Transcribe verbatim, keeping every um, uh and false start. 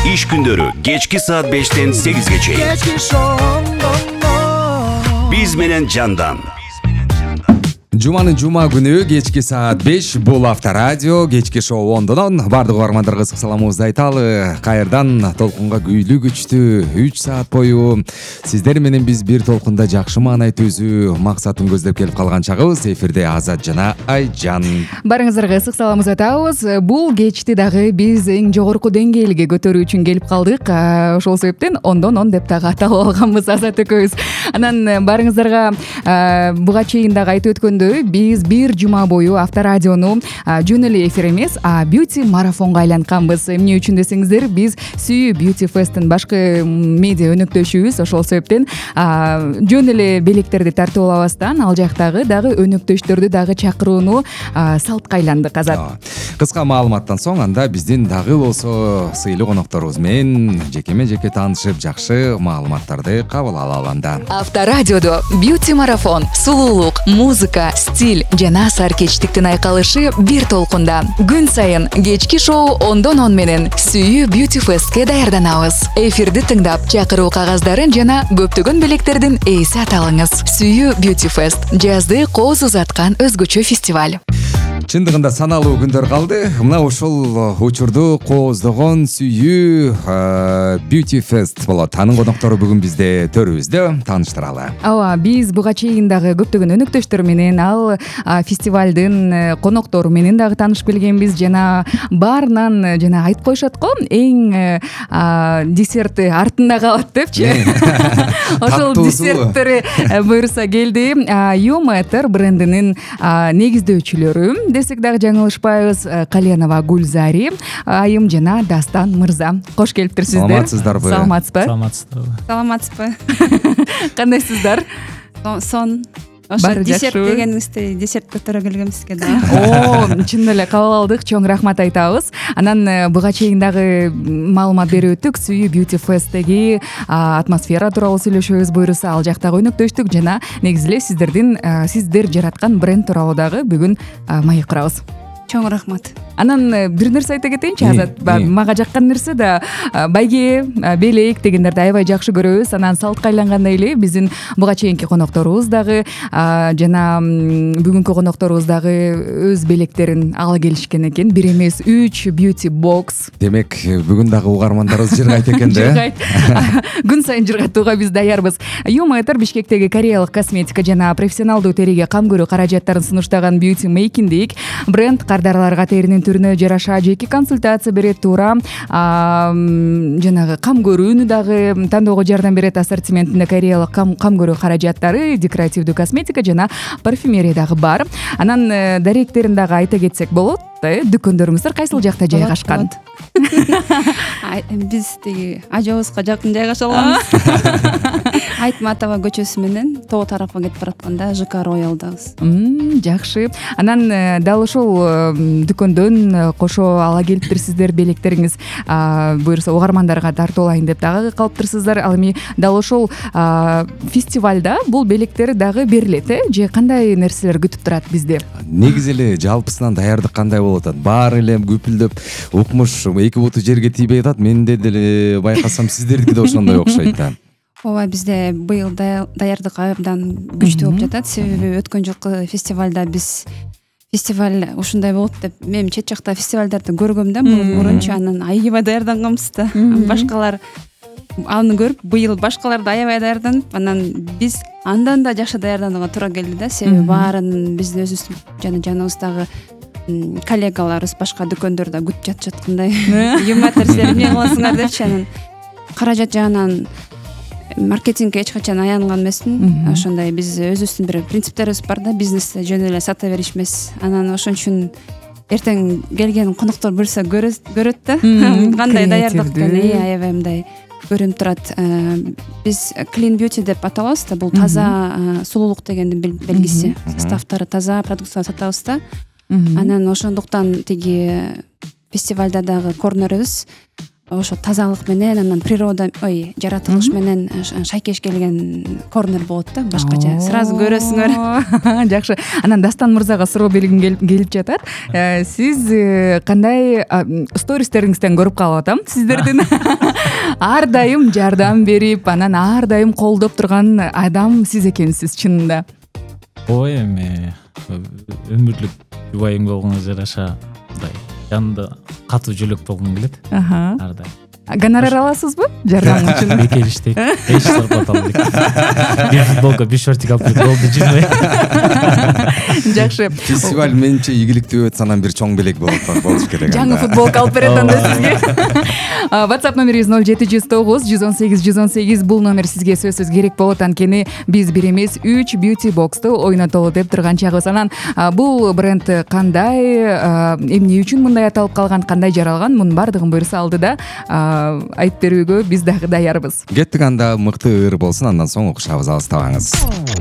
Иш күндөрү кечки саат бештен сегизге чейин. Кечки шоу. Биз менен жандан. Жуманын жума күнү кечки саат беш бул Авторадио кечки шоу ондон бардык угармандарга ысык саламыбызды айталы. Кайрадан толкунга күйлүү күчтүү үч саат бою сиздер менен биз бир толкунда жакшы маанай түзүү максатын көздөп келип калган чагыбыз. Эфирде Азат жана Айжан. Барыңыздарга ысык саламыбызды айтабыз. Бул кечти дагы биз эң жогорку деңгээлге көтөрүү үчүн келип калдык. Ошол себептен ондон он деп дагы аталып алганбыз Азат экөөбүз. Анан барыңыздарга буга чейин дагы айтып өткөндөй биз бир жума бою Авторадиону жөн эле эфир эмес, а бьюти марафонго айлантканбыз. Эмне үчүн десеңиздер, биз Сүйүү Beauty Fest'ин башкы медиа өнөктөшүбүз. Ошол себептен жөн эле белектерди тартып алабастан ал жактагы дагы өнөктөштөрдү дагы чакырууну салтка айландык. Азат. Кыска маалыматтан соң анда биздин дагы болсо сыйлуу конокторубуз менен жекеме жеке таанышып, жакшы маалыматтарды кабыл ала алганда. Авторадиодо бьюти марафон, сулуулук, музыка, стиль жана сар кечтиктин айкалышы бир толкунда. Күн сайын кечки шоу ондон он менен Сүйүү Beauty Fest'ке даярданабыз. Эфирди тыңдап, чакыруу кагаздарын жана көптөгөн белектердин ээси аталыңыз. Сүйүү Beauty Fest жазды кооз узаткан өзгөчө фестиваль. Чындыгында саналуу күндөр калды. Мына ошол учурду кооздогон Сүйүү Beauty Fest болот. Анын коноктору бүгүн бизде төрүбүздө, тааныштыралы. Ооба, биз буга чейин дагы көптөгөн өнөктөштөр менен ал фестивалдын коноктору менен дагы таанышып келгенбиз. Жана баарынан жана айтып коюшат го, эң десерти артында калат депчи. Ошол десерттери буюрса келди. Юметр брендинин негиздөөчүлөрү десек дагы жаңылышпайбыз. Кальянова Гүлзари айым жана Дастан мырза. Кош келиптирсиздер. Саламатсыздарбы? Саламатсызбы? Саламатсыздарбы? Саламатсызбы? Кандайсыздар? Сон. Ошо десерт дегениңизди десерт көтөрө келгем сизге да. О, чын эле кабыл алдык. Чоң рахмат айтабыз. Анан буга чейин дагы маалымат берип өттүк. Сүйүү Beauty Fest'теги атмосфера тууралуу сүйлөшөбүз буюрса, ал жактагы өнөктөштүк жана негизи эле сиздердин сиздер жараткан бренд тууралуу дагы бүгүн маек курабыз. Чоң рахмат. Анан бир нерсе айта кетейинчи, Азат. Мага жаккан нерсе да байге, белек дегендерди аябай жакшы көрөбүз. Анан салтка айлангандай эле биздин буга чейинки конокторубуз дагы жана бүгүнкү конокторубуз дагы өз белектерин ала келишкен экен. Бир эмес, үч beauty box. Демек, бүгүн дагы угармандарыбыз жыргайт экен да. Жыргайт. Күн сайын жыргатууга биз даярбыз. Юметр Бишкектеги кореялык косметика жана профессионалдуу териге кам көрүү каражаттарын сунуштаган Beauty Making бренд кардарларга теринин түрүнө жараша жеке консультация берет, туура жанагы кам көрүүнү дагы тандоого жардам берет. Ассортиментинде кореялык кам көрүү каражаттары, декоративдүү косметика жана парфюмерия дагы бар. Анан даректерин дагы айта кетсек болот. Дүкөндөрүңүздөр кайсыл жакта жайгашкан? Биз тиги ажабызга жакын жайгаша алабыз. Айтматова көчөсү менен тоо тарапка кетип баратканда ЖК Роялдабыз. Жакшы. Анан дал ошол дүкөндөн кошо ала келиптирсиздер белектериңиз буюрса угармандарга тартып алайын деп дагы калыптырсыздар. Ал эми дал ошол фестивалда бул белектер дагы берилет, э? Же кандай нерселер күтүп турат бизди? Негизи эле жалпысынан даярдык кандай болот? Баары эле күпүлдөп укмуш, эки буту жерге тийбей атат. Менде деле байкасам сиздердики да ошондой окшойт да. Ооба, бизде быйыл даярдык абдан күчтүү болуп жатат. Себеби өткөн жылкы фестивалда биз фестиваль ушундай болот деп мен чет жакта фестивалдарды көргөм да, мурунчу анан аябай даярданганбыз да. Башкалар аны көрүп быйыл башкалар да аябай даярданып, анан биз андан да жакшы даярданууга туура келди да. Себеби баарын биздин өзүбүз жана жаныбыздагы коллегаларыбыз башка дүкөндөрдө күтүп жатып жаткандай. Юметр силер эмне кыласыңар депчи, анан каражат жагынан маркетингге эч качан аянган эмесмин. Ошондой биз өзүбүздүн бир принциптерибиз бар да, бизнесте жөн эле сата бериш эмес. Анан ошон үчүн эртең келген коноктор көрсө көрөт да, кандай даярдык экенин аябай мындай көрүнүп турат. Биз Clean Beauty деп аталабыз да, бул таза сулуулук дегендин белгиси. Составтары таза продукция сатабыз да. Анан ошондуктан тиги фестивалда дагы көрүнөрүбүз. ошо тазалык менен анан природа ой жаратылыш менен шайкеш келген корнер болот да, башкача сразу көрөсүңөр. Жакшы. Анан Дастан мырзага суроо бергим келип жатат. Сиз кандай стористериңизден көрүп калып атам сиздердин ар дайым жардам берип, анан ар дайым колдоп турган адам сиз экенсиз чынында. Ой, эми өмүрлүк жубайың болгонго жараша мындай жанды катуу жөлөк болгум келет. Ар дайым. Гонорар аласызбы жардам үчүн? Бекелиштей. Эч зарплат албайт. Бир футболка, беш шортик алып келип болду жүрмөй. Жакшы. Фестиваль менимче ийгиликтүү өтсө анан бир чоң белек болуш керек. Жаңы футболка алып берет анда сизге. WhatsApp номерибиз ноль жети жүз тогуз жүз он сегиз жүз он сегиз. Бул номер сизге сөзсүз керек болот, анткени биз бир эмес үч beauty box'ту ойнотолу деп турган чагыбыз. Анан бул бренд кандай, эмне үчүн мындай аталып калган, кандай жаралган, мунун баардыгын буюрса алдыда айтып берүүгө биз дагы даярбыз. Кеттик анда, мыкты ыр болсун, андан соң угушабыз, алыстабаңыз.